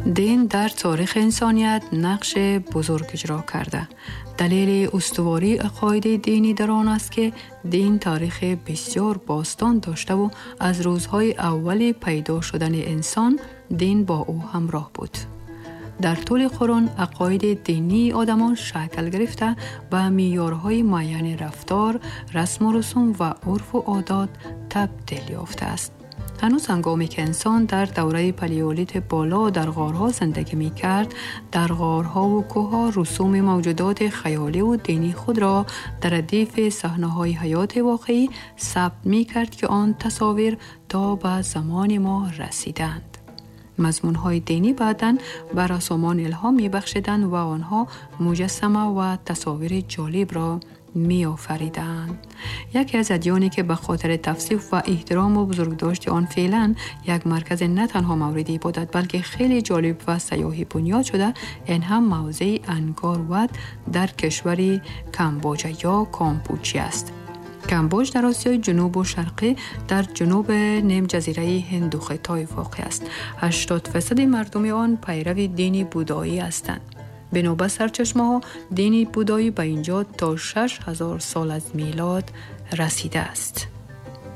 Дин дар таърихи инсоният нақши бузург иҷро карда. Далели устувории ақоиди динӣ дар он аст, ки дин таърихи бисёр бостон доштаву аз рӯзҳои аввали пайдо шудани инсон дин бо ӯ ҳамроҳ буд. Дар тӯли қурун ақоиди динии одамон шакл гирифта, ба меъёрҳои муайяни рафтор, расму русум ва урфу одот табдил ёфтааст. Ҳанӯз ҳангоме ки инсон дар давраи палеолити боло дар ғорҳо зиндагӣ мекард, дар ғорҳову кӯҳҳо русуми мавҷудоти хаёливу динии худро дар радифи саҳнаҳои ҳаёти воқеӣ сабт мекард, ки он тасовир то ба замони мо расиданд. Мазмунҳои динӣ баъдан ба рассомон илҳом мебахшиданд ва онҳо муҷассама ва тасовири ҷолибро меофариданд. Яке аз адёне ки ба хотири тавсиф ва эҳтирому бузургдошти он феълан як маркази на танҳо мавриди ибодат, балки хеле ҷолиб ва сайёҳӣ бунёд шуда, ин ҳам мавзеи Ангкор Ват дар кишвари Камбоҷа ё Кампучи аст. Камбоҷ дар Осиёи ҷунубу шарқӣ, дар ҷунуби нимҷазираи Ҳинду Хитой воқеъ аст. 80% мардуми он пайрави дини будоӣ ҳастанд. Бино ба сарчашмаҳо, дини будоӣ ба инҷо то 6000 сол аз милод расидааст.